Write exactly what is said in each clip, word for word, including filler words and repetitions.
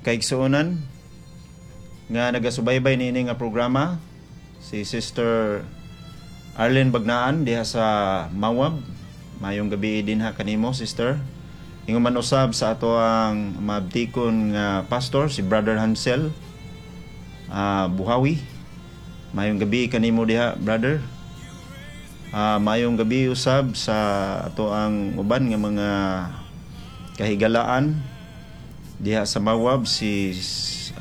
Kaigsuonan nga nagasubaybay niini nga programa, si Sister Arlene Bagnaan diha sa Mawab. Maayong gabi dinha kanimo, sister. Ingon man usab sa ato ang maabtikon nga pastor, si Brother Hansel ah, Buhawi. Maayong gabi kanimo diha, brother. Ah, maayong gabi usab sa ato ang uban nga mga kahigalaan diha sa Mawab, si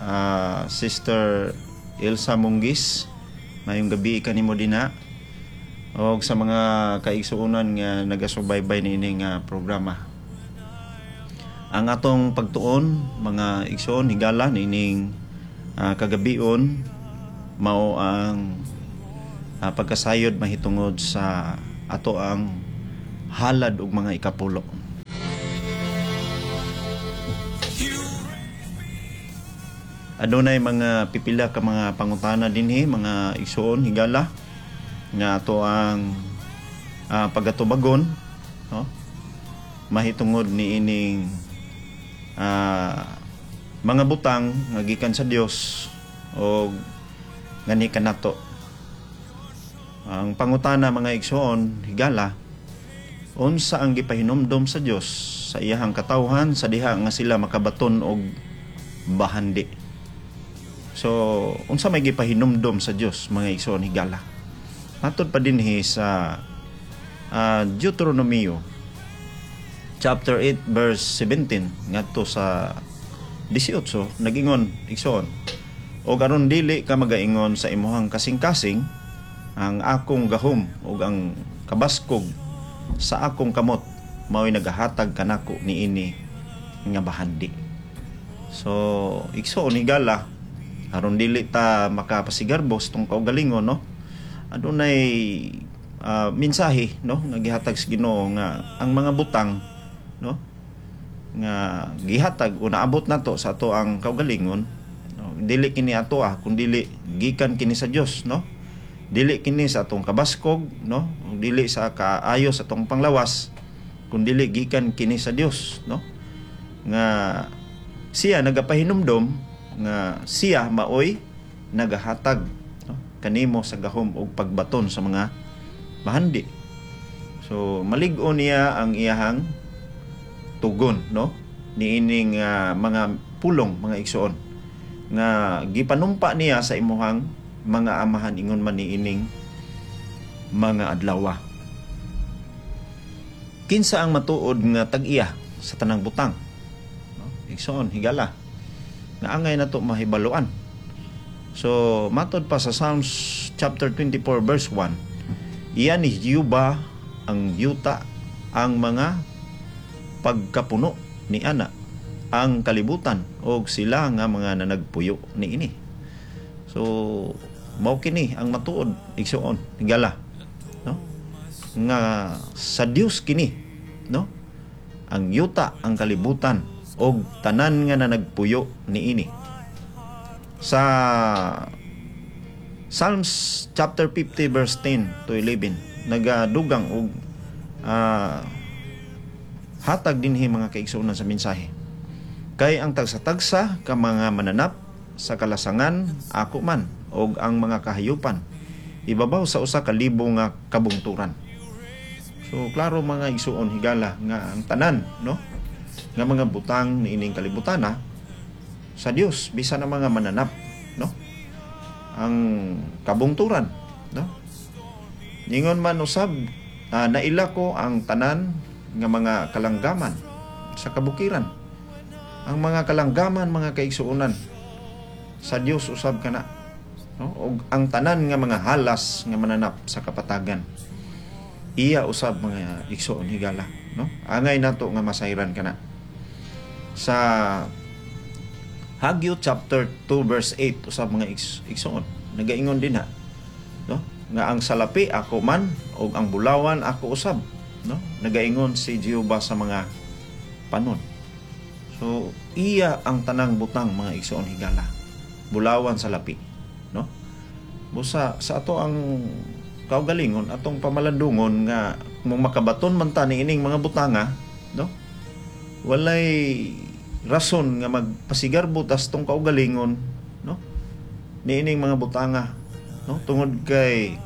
ah, Sister Elsa Munggis. Maayong gabi kanimo dinha. Og sa mga kaigsuonan nga nagasubaybay niini nga programa. Ang atong pagtuon, mga igsoon higala, niining ah, kagabion mao ang ah, pagkasayod mahitungod sa ato ang halad og mga ikapulo. Adunay mga pipila ka mga pangutana dinhi, mga igsoon higala, nga ato ang ah, pagatubagon, no, mahitungod niining ah, mga butang nga gikan sa Dios o ngani kanato. Ang pangutana, mga igsoon higala: unsa ang gipahinumdom sa Dios sa iyahang katawhan sa diha nga sila makabaton og bahandi? So unsa may gipahinumdom sa Dios, mga igsoon higala? Matod pa dinhi sa uh, Deuteronomio chapter eight verse seventeen ngadto sa eighteen, nagingon, igsoon: "Og aron dili ka magaingon sa imuhang kasing-kasing, 'Ang akong gahom ug ang kabaskog sa akong kamot mao'y nagahatag kanako niini nga bahandi." So igsoon higala, aron dili ta makapasigarbo sa atong kaugalingon, no, adunay uh, mensahe, no, nga gihatag sa Ginoo nga ang mga butang, no, nga gihatag o naabot nato sa ato ang kaugalingon, no, dili kini ato ah kun dili gikan kini sa Dios, no? Dili kini sa atong kabaskog, no, dili sa kaayo sa atong panglawas, kun dili gikan kini sa Dios, no, nga siya nagapahinumdom nga siya maoy nagahatag, no, kanimo sa gahom og pagbaton sa mga bahandi. So malig-o niya ang iyahang tugon, no, niining uh, mga pulong, mga igsoon, nga gipanumpa niya sa imuhang mga amahan ingon man niining mga adlawa. Kinsa ang matuod nga tag-iya sa tanang butang, no? Igsoon higala, nga angay nato mahibaluan. So matod pa sa Psalms chapter twenty-four verse one, iya ni Jehova ang yuta, ang mga pagkapuno ni ana, ang kalibutan og sila nga mga nanagpuyo niini. So mao kini ang matuod, igsoon higala, no, nga sa Dios kini, no, ang yuta, ang kalibutan og tanan nga nanagpuyo niini. Sa Psalms chapter fifty verse ten to eleven, nagadugang og uh, hatag dinhi, mga kaigsuonan, sa mensahe: "Kay ang tagsa-tagsa ka mga mananap sa kalasangan ako man, og ang mga kahayupan ibabaw sa usa ka libo nga kabungturan." So klaro, mga igsuon higala, nga ang tanan, no, nga mga butang niining kalibutana sa Dios, bisan ang mga mananap, no, ang kabungturan, no. Ningon man usab, uh, "Naila ko ang tanan nga mga kalanggaman sa kabukiran." Ang mga kalanggaman, mga kaigsuonan, sa Dios usab kana, no? Og ang tanan nga mga halas nga mananap sa kapatagan iya usab, mga igsuon higala, no? Angay nato nga masayran kana. Sa Hagyo chapter two verse eight usab, mga igsuon, nagaingon din ha, no, nga ang salapi ako man og ang bulawan ako usab, no, nagaingon si Jehova sa mga panon. So iya ang tanang butang, mga igsuon higala, bulawan, salapi, no? Busa sa ato ang kaugalingon, atong pamalandungon nga kung makabaton man ta niining mga butanga, no, walay rason nga magpasigarbo tas tong kaugalingon, no, niining mga butanga, no, tungod kay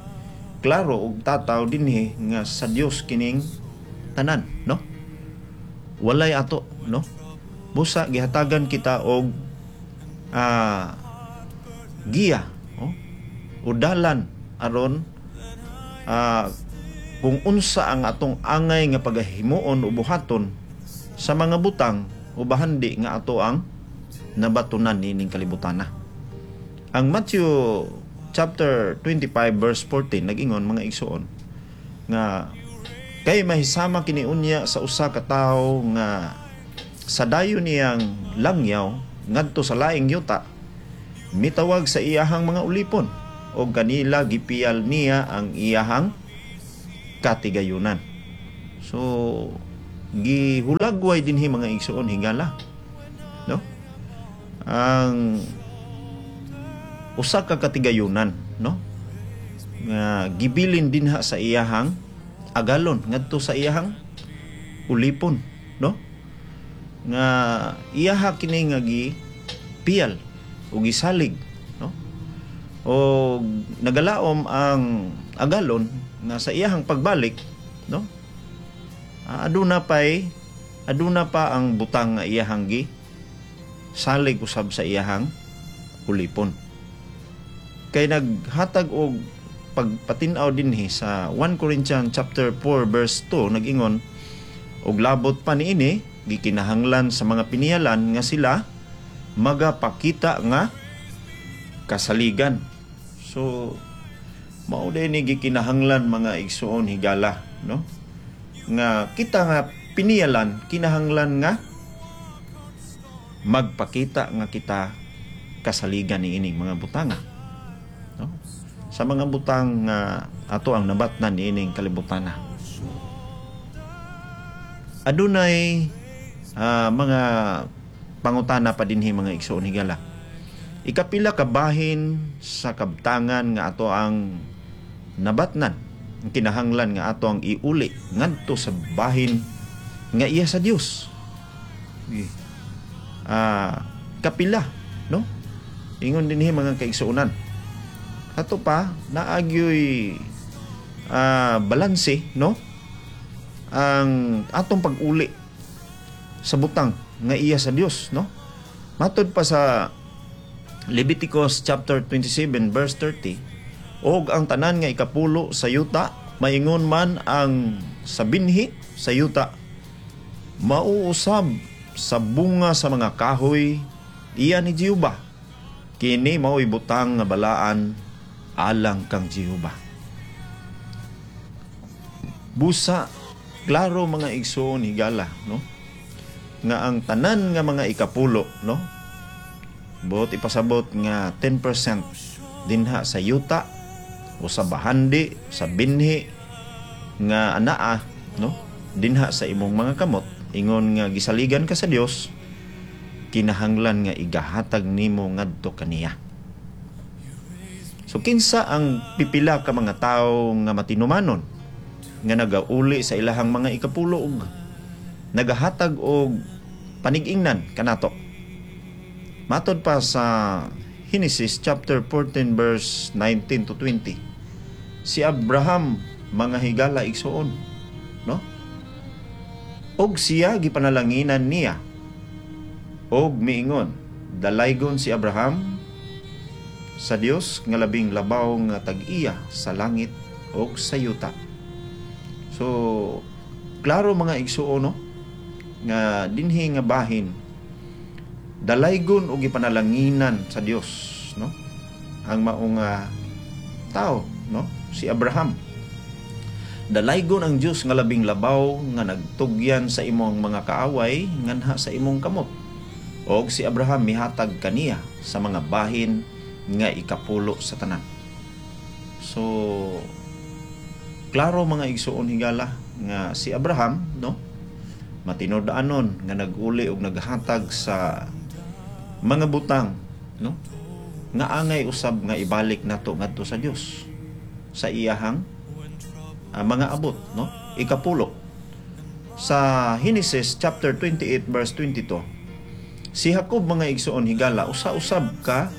klaro og tataw dinhi nga sa Dios kining tanan, no? Walay ato, no? Busa gihatagan kita og ah, giya, no, o dalan aron ah, kung unsa ang atong angay nga pagahimuon o buhaton sa mga butang o bahandi nga ato ang nabatunan niining kalibutana. Ang Matthew chapter twenty-five verse fourteen nag-ingon, mga igsuon, nga kay mahisama kini unya sa usa ka tawo nga sa dayon niyang langyaw ngadto sa laing yuta, mitawag sa iyahang mga ulipon og kanila gipiyal niya ang iyahang katigayunan. So gihulagway dinhi, mga igsuon higala, no, ang usa ka katigayunan, no, nga gibilin dinha sa iyahang agalon ngadto sa iyahang ulipon, no, nga iyaha kini nga gipiyal o gisalig, no, o nagalaom ang agalon nga sa iyahang pagbalik, no, aduna pay aduna pa ang butang nga iyahang gi salig usab sa iyahang ulipon. Kay naghatag og pagpatin-aw dinhi sa First Corinthians chapter four verse two, nag-ingon, "Og labot pa niini, gikinahanglan sa mga piniyalan nga sila magapakita nga kasaligan." So mao ni gikinahanglan, mga igsuon higala, no, nga kita nga piniyalan kinahanglan nga magpakita nga kita kasaligan ni ining mga butanga, no, sa mga butang nga ato ang nabatnan niining kalibutana. Adunay uh, mga pangutana pa dinhi, mga igsuon higala. Ikapila ka bahin sa kabtangan nga ato ang nabatnan ang kinahanglan nga ato ang iuli ngadto sa bahin nga iya sa Dios? Ah, kapila, no? Ingon dinhi, mga kaigsuonan. Ato pa naagyoy uh, balanse, no, ang atong pag-uli sa butang nga iya sa Dios, no? Matod pa sa Leviticus chapter twenty-seven verse thirty, "Og ang tanan nga ikapulo sa yuta, maingon man ang sa binhi sa yuta, mauusab sa bunga sa mga kahoy, iya ni Jehova. Kini mao'y butang nga balaan alang kang Jehova." Busa klaro, mga igsoon higala, no, nga ang tanan nga mga ikapulo, no, buot ipasabot nga ten percent dinha sa yuta o sa bahandi sa binhi nga anaa, no, dinha sa imong mga kamot, ingon nga gisaligan ka sa Dios, kinahanglan nga igahatag nimo ngadto kaniya. So kinsa ang pipila ka mga tawo nga matinumanon nga nagauli sa ilahang mga ikapulo og nagahatag og panig-ingnan kanato? Matod pa sa Genesis chapter fourteen verse nineteen to twenty, si Abraham, mga higala igsuon, no, og siya gipanalanginan niya og miingon, "Dalaygon si Abraham sa Dios nga labing labaw nga tag-iya sa langit og sa yuta." So klaro, mga igsuon, no, nga dinhi nga bahin dalaygon og gipanalanginan sa Dios, no, ang maong tao, no, si Abraham. Dalaygon ang Dios nga labing labaw nga nagtugyan sa imong mga kaaway nganha sa imong kamot. Og si Abraham mihatag kaniya sa mga bahin nga ikapulo sa tanan. So klaro, mga igsuon higala, nga si Abraham, no, matinud-anon nga naguli og naghatag sa mga butang, no, nga angay usab nga ibalik nato ngadto sa Dios sa iyahang uh, mga abot, no, ikapulo. Sa Genesis chapter twenty-eight verse twenty-two. Si Jacob, mga igsoon higala, usa-usab ka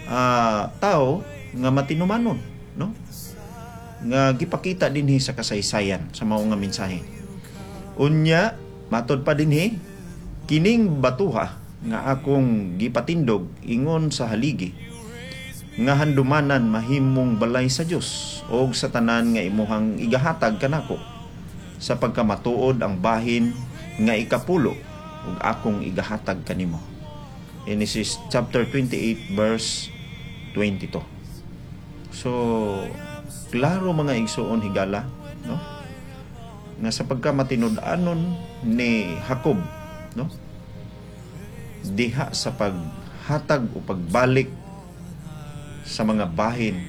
uh, tao nga matinumanon, no? Nga gipakita dinhi sa kasaysayan sa mao nga mensahe. Unya, matod pa dinhi, kining batuha nga akong gipatindog ingon sa haligi nga handumanan mahimong balay sa Dios og sa tanan nga imuhang igahatag kanako sa pagkamatuod ang bahin nga ikapulo ug akong igahatag kanimo. Genesis chapter twenty-eight verse twenty-two. So, klaro, mga igsuon higala, no? Nga sa pagkamatinud-anon ni Jacob, no? Diha sa paghatag o pagbalik sa mga bahin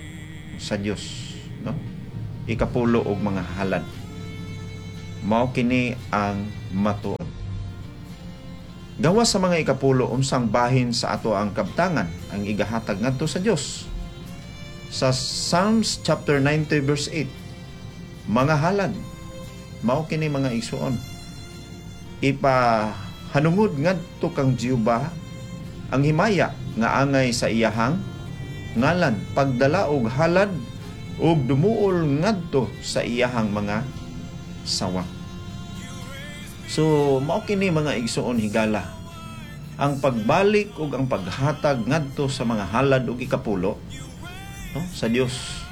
sa Dios, no? Ikapulo og mga halad. Mao kini ang matuod. Gawas sa mga ikapulo, unsang bahin sa ato ang kabtangan ang igahatag ngadto sa Dios? Sa Psalms chapter ninety verse eight, mga halad. Mao kini, mga igsuon. Ipahanungod ngadto kang Jehova ang himaya nga angay sa iyahang ngalan, pagdala og halad ug dumuol ngadto sa iyahang mga sawang. So mao kini, mga igsuon higala, ang pagbalik ug ang paghatag ngadto sa mga halad ug ikapulo, no, sa Dios.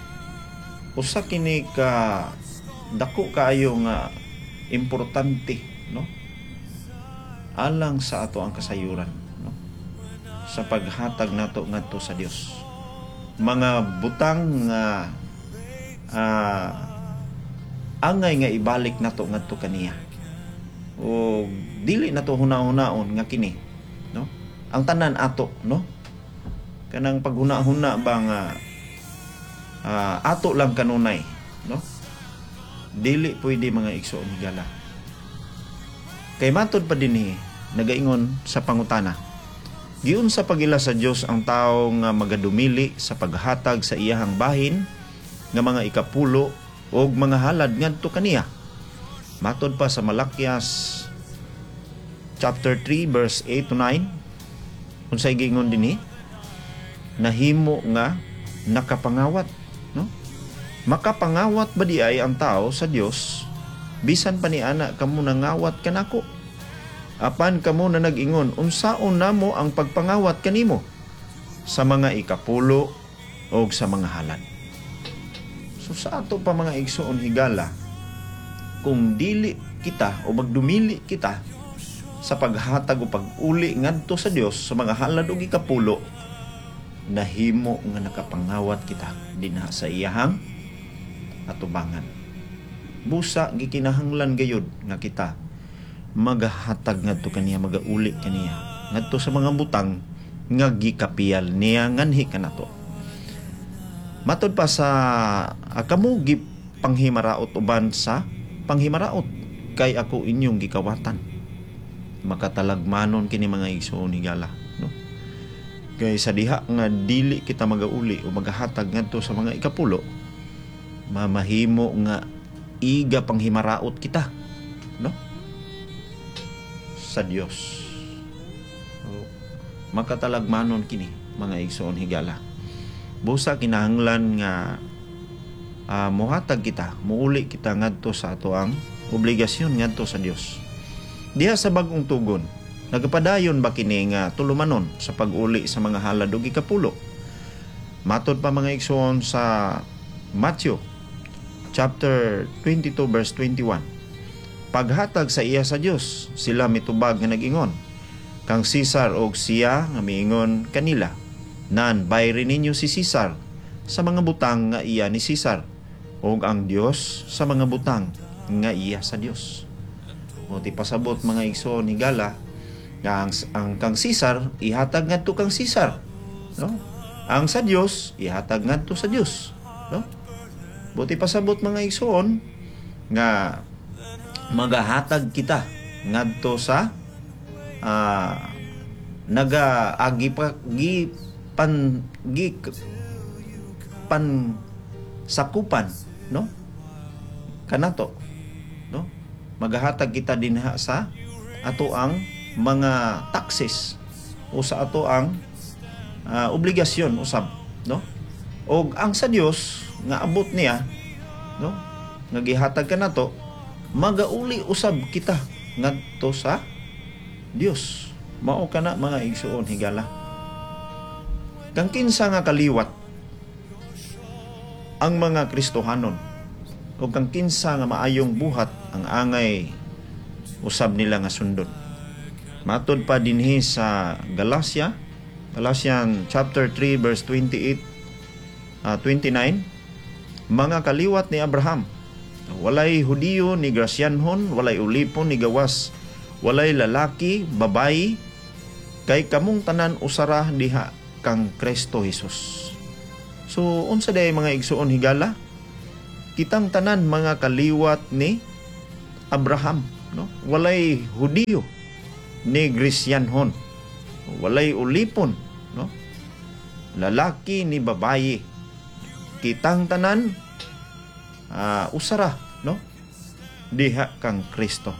Usa kini ka dako kaayo nga importante, no, alang sa ato ang kasayuran, no, sa paghatag nato ngadto sa Dios. Mga butang nga uh, angay nga ibalik nato ngadto kaniya. O dili nato huna-hunaon nga kini, no, ang tanan ato, no, kanang paghuna-huna ba nga uh, ato lang kanunay, no? Dili pwede, mga igsoon higala, kay matod pa dinhi, nagaingon sa pangutana, giunsa pag-ila sa Dios ang tawo nga magadumili sa paghatag sa iyahang bahin nga mga ikapulo og mga halad ngadto kaniya? Matod pa sa Malakias chapter three verse eight to nine, unsay giingon dinhi? Nahimo nga nakapangawat, no? Makapangawat ba di ay ang tao sa Dios? Bisan pa ni ana kamo nangawat kanako. Apan kamo na nag-ingon, "Unsaon namo ang pagpangawat kanimo?" Sa mga ikapulo o sa mga halad. So sa ato pa, mga igsoon higala, kung dili kita o magdumili kita sa paghatag o pag-uli ngadto sa Dios sa mga halad ug ikapulo, nahimo nga nakapangawat kita dinha sa iyahang atubangan. Busa gikinahanglan gayud nga kita magahatag ngadto kaniya, magauli kaniya ngadto sa mga butang nga gikapiyal niya nganhi kanato. Matod pa sa uh, kamo gipanghimaraot uban sa panghimaraot kay ako inyong gikawatan. Makatalagmanon kini, mga igsoon higala, no? Kay sa diha nga dili kita magauli o magahatag ngadto sa mga ikapulo, mamahimo nga iga panghimaraot kita, no, sa Dios. So, makatalagmanon kini, mga igsoon higala. Busa kinahanglan nga uh, mohatag kita, muuli kita ngadto sa ato ang obligasyon ngadto sa Dios. Diha sa Bagong Tugon, nagapadayon ba kini nga tulumanon sa pag-uli sa mga halad ug ikapulo? Matod pa, mga igsoon, sa Matthew chapter twenty-two verse twenty-one. Paghatag sa iya sa Dios, sila mitubag nga nag-ingon, "Kang Cesar," og siya nga miingon kanila, "Nan bayri ninyo si Cesar sa mga butang nga iya ni Cesar ug ang Dios sa mga butang nga iya sa Dios." O ti pasabot, mga igsoon higala, nga ang, ang kang Cesar ihatag ngadto kang Cesar, no? Ang sa Dios ihatag ngadto sa Dios, no? Buti pasabot, mga igsoon, nga magahatag kita ngadto sa uh, naga agi pa gi pan gi pan sakupan, no, kanato, no? Magahatag kita dinha sa ato ang mga taxes o sa ato ang uh, obligasyon usab, no? Og ang sa Dios nga abot niya, no, nga gihatag kanato, magauli usab kita ngadto sa Dios. Mao kana, mga igsuon higala. Kang kinsa nga kaliwat ang mga Kristohanon o kang kinsa nga maayong buhat ang angay usab nila nga sundon? Matod pa dinhi sa Galacia, Galatian chapter three verse twenty-eight uh, twenty-nine, mga kaliwat ni Abraham, walay Hudiyo ni Grasyanhon, walay ulipon ni gawas, walay lalaki, babayi, kay kamong tanan usara diha kang Kristo Jesus. So unsa day, mga igsuon higala? Kitang tanan mga kaliwat ni Abraham, no? Walay Hudiyo ni Gresyanhon, walay ulipon, no? Lalaki ni babayi. Kitang tanan uh, usara, no, diha kang Kristo.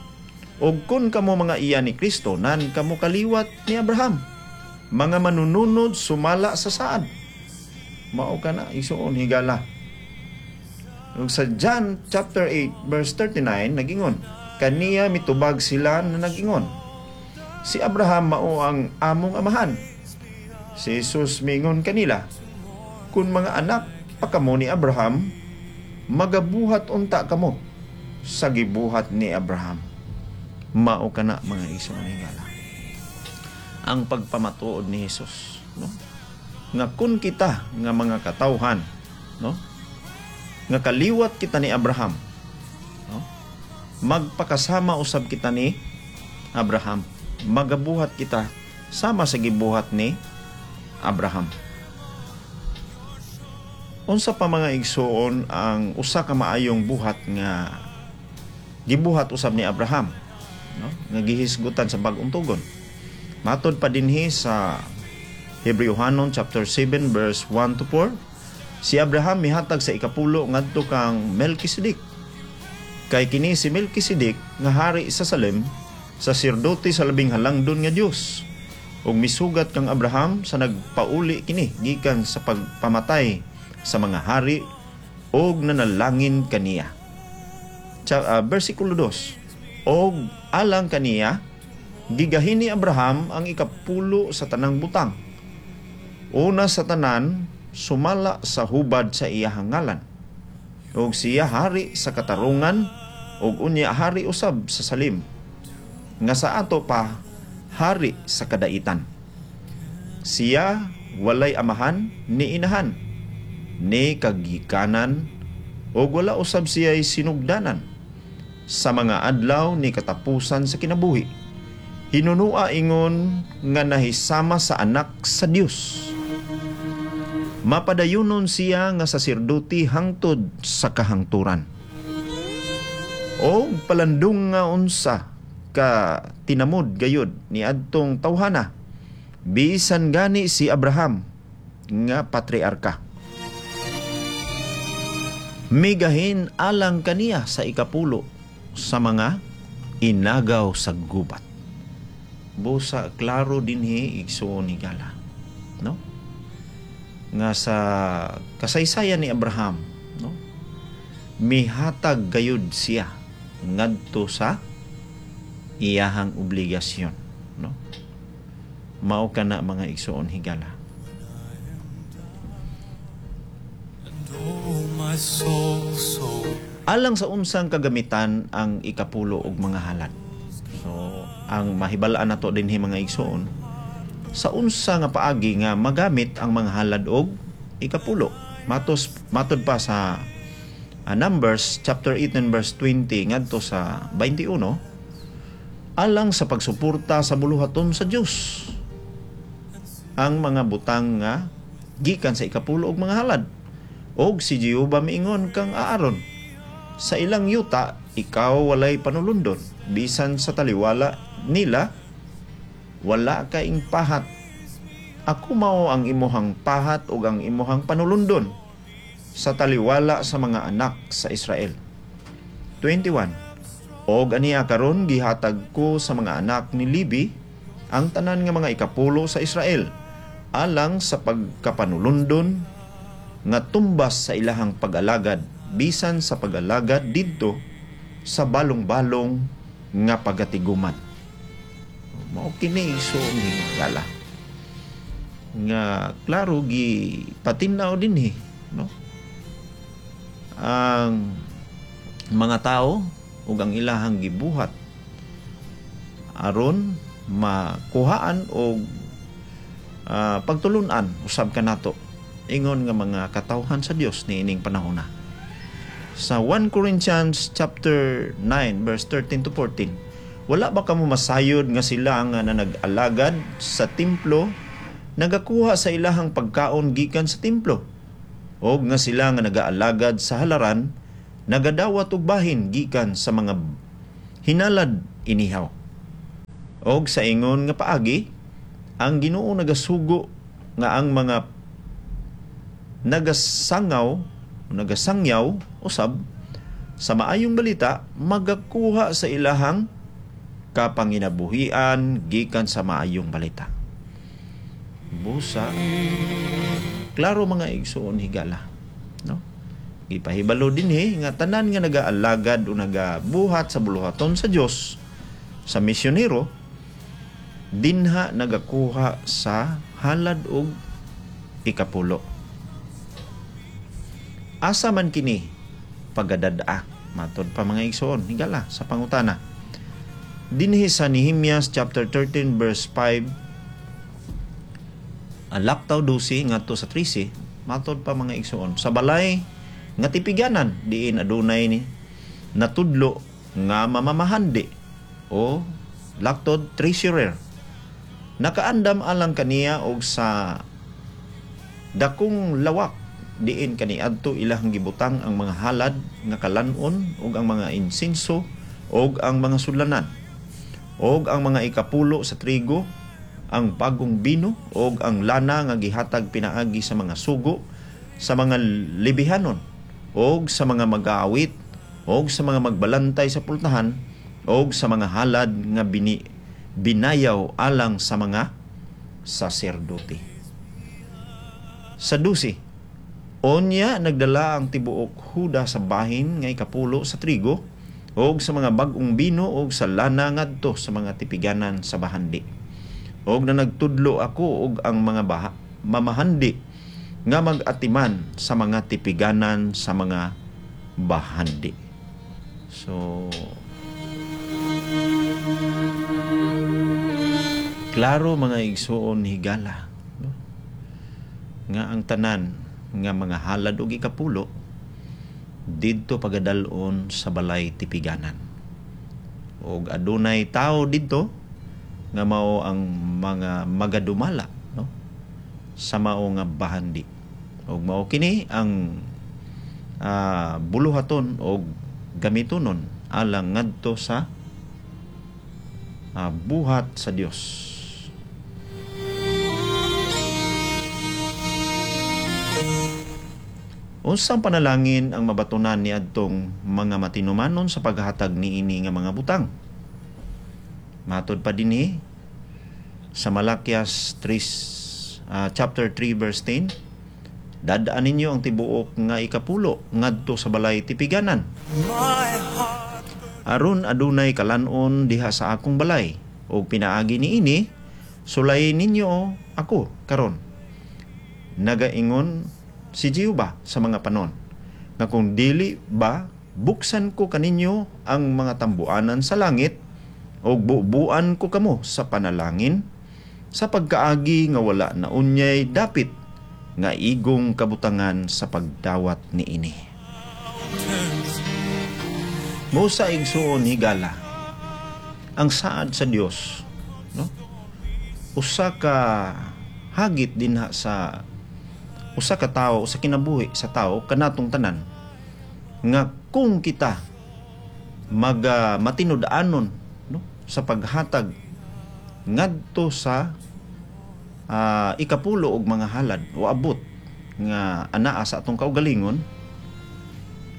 Og kun kamo mga iya ni Kristo, nan kamo kaliwat ni Abraham, mga manununod sumala sa saad. Mao kana, igsuon higala. Ug sa John chapter eight verse thirty-nine nagingon, kaniya mitubag sila na nagingon, "Si Abraham mao ang among amahan." Si Jesus mingon kanila, "Kung mga anak pa kamo ni Abraham, magabuhat unta kamo sa gibuhat ni Abraham." Mao kana, mga igsoon higala, ang pagpamatuod ni Jesus, no? Nga kun kita nga mga katawhan, no, nga kaliwat kita ni Abraham, no, magpakasama usab kita ni Abraham, magabuhat kita sama sa gibuhat ni Abraham. Unsa pa, mga igsoon, ang usa ka maayong buhat nga gibuhat usab ni Abraham, no, nga gihisgutan sa Bag-ong Tugon? Matod pa dinhi sa Hebreohanon chapter seven verse one to four, si Abraham mihatag sa ikapulo ngadto kang Melchizedek. Kay kini si Melchizedek nga hari sa Salem, saserdote sa Labing Halangdon nga Dios. Ug misugat kang Abraham sa nagpauli kini gikan sa pagpamatay sa mga hari og nanalangin kaniya. Cha, uh, versikulo two. Og alang kaniya gigahin ni Abraham ang ikapulo sa tanang butang. Una sa tanan, sumala sa hubad sa iyahang ngalan. Og siya hari sa katarungan ug unya hari usab sa Salim nga sa ato pa hari sa kadaitan. Siya walay amahan ni inahan ni kagikanan ug wala usab siya'y sinugdanan sa mga adlaw ni katapusan sa kinabuhi. Hinunua ingon nga nahisama sa Anak sa Dios. Mapadayunon siya nga saserdote hangtod sa kahangturan. O palandong nga unsa ka tinamod gayud ni adtong tawhana, bisan gani si Abraham nga patriarka migahin alang kaniya sa ikapulo sa mga inagaw sa gubat. Busa klaro dinhi, igsuon higala, no, nga sa kasaysayan ni Abraham, no, mihatag gayud siya ngadto sa iyahang obligasyon, no? Mao kana, mga igsuon higala. And oh, my soul, so Alang sa unsang kagamitan ang ikapulo og mga halad? So ang mahibal-an nato dinhi, mga igsuon, sa unsa nga paagi nga magamit ang mga halad og ikapulo? Matos matod pa sa uh, Numbers chapter eighteen verse twenty ngadto sa twenty-one, alang sa pagsuporta sa buluhaton sa Dios ang mga butang nga gikan sa ikapulo og mga halad. Og si Jehova miingon kang Aaron, "Sa ilang yuta ikaw walay panulundon, bisan sa taliwala nila wala kaing pahat. Ako mao ang imuhang pahat ug ang imuhang panulundon sa taliwala sa mga anak sa Israel." twenty-one. Og aniya karon gihatag ko sa mga anak ni Levi. Ang tanan nga mga ikapulo sa Israel alang sa pagkapanulundon nga tumbas sa ilahang pag-alagad bisan sa pag-alagad didto sa balong-balong nga pagatiguman. Mao kini, igsoon higala, nga klaro gi patin-aw dinhi, no, ang mga tao ug ang ilahang gibuhat aron makuhaan og uh, pagtulunan usab kanato ingon nga mga katawhan sa Dios niining panahon na. Sa First Corinthians chapter nine verse thirteen to fourteen, "Wala ba kamo masayod nga sila nga nag-alagad sa templo nagakuha sa ilahang pagkaon gikan sa templo, og nga sila nga nagaalagad sa halaran nagadawat og bahin gikan sa mga hinalad inihaw? Og sa ingon nga paagi ang Ginoo nagasugo nga ang mga nagasangaw, nagasangyaw usab sa maayong balita magakuha sa ilahang kapanginabuhian gikan sa maayong balita." Busa klaro, mga igsoon higala, no, gipahibalo dinhi nga tanan nga nagaalagad o nagabuhat sa buluhaton sa Dios sa misyonero dinha nagakuha sa halad og ikapulo. Asa man kini pagadad-a? Matod pa, mga igsoon higala, sa pangutana dinhi sa Nehemias chapter thirteen verse five, ang laktaw dose ngadto sa trese. Matod pa, mga igsoon, sa balay nga tipiganan diin adunay ni natudlo nga mamamahandi o laktod treasurer, nakaandam alang kaniya og sa dakong lawak diin kaniadto ilahang gibutang ang mga halad nga kalan-on ug ang mga insenso ug ang mga sudlanan ug ang mga ikapulo sa trigo, ang bagong bino ug ang lana nga gihatag pinaagi sa mga sugo sa mga Lebihanon ug sa mga mag-aawit ug sa mga magbalantay sa pultahan ug sa mga halad nga bini, binayaw alang sa mga saserdote. Sa dose, "Onya nagdala ang tibuok Huda sa bahin nga ikapulo sa trigo ug sa mga bag-ong bino ug sa lana ngadto sa mga tipiganan sa bahandi. Og na nagtudlo ako ug ang mga baha, mamahandi nga mag-atiman sa mga tipiganan sa mga bahandi." So klaro, mga igsoon higala, no, nga ang tanan nga mga halad og ikapulo didto pagadal-on sa balay tipiganan. Og adunay tao didto nga mao ang mga magadumala, no, sa mao nga bahandi. Og mao kini ang uh, buluhaton og gamitonon alang ngadto sa uh, buhat sa Dios. Unsang panalangin ang mabatunan ni adtong mga matinumanon sa paghatag niini nga mga butang? Matod pa dinhi sa Malakias three, uh, chapter three verse ten, "Dadaan ninyo ang tibuok nga ikapulo ngadto sa balay tipiganan aron adunay kalanon diha sa akong balay, ug pinaagi niini sulayin ninyo ako karon, nagaingon si Jehova sa mga panon, nga kung dili ba buksan ko kaninyo ang mga tambuanan sa langit ug bubuan ko kamo sa panalangin sa pagkaagi nga wala na unyay dapit nga igong kabutangan sa pagdawat niini." Musa, igsuon higala, ang saad sa Dios, no, usa ka hagit dinha sa usa ka tawo, sa kinabuhi sa tawo kanatong tanan, nga kung kita mag uh, matinud-anon, no, sa paghatag ngadto sa uh, ikapulo og mga halad o abot nga anaa sa atong kaugalingon,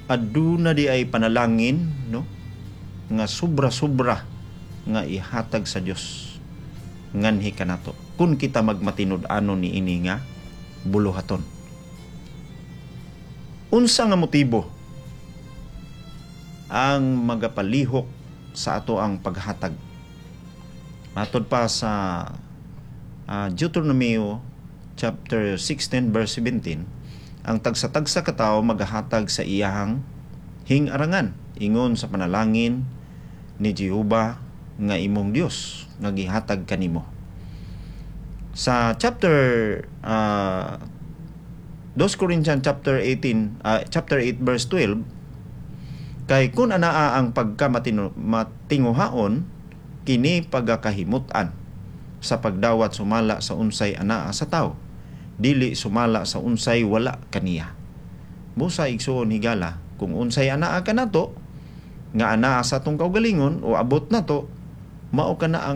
aduna di ay panalangin, no, nga sobra-sobra nga ihatag sa Dios nganhi kanato kun kita magmatinud-anon ni ini nga buluhaton. Unsa nga motibo ang magapalihok sa ato ang paghatag? Matod pa sa uh, Deuteronomio chapter sixteen verse seventeen, ang tagsa-tagsa ka tawo magahatag sa iyahang hingarangan ingon sa panalangin ni Jehova nga imong Dios nga gihatag kanimo. Sa chapter uh, two Corinthians chapter eighteen, uh, chapter eight verse twelve, kay kun anaa ang pagkamatinguhaon, kini pagakahimut-an sa pagdawat sumala sa unsay anaa sa tao, dili sumala sa unsay wala kaniya. Busa, igsuon higala, kung unsay anaa kanato nga anaa sa atong kaugalingon o abot nato, mao kana ang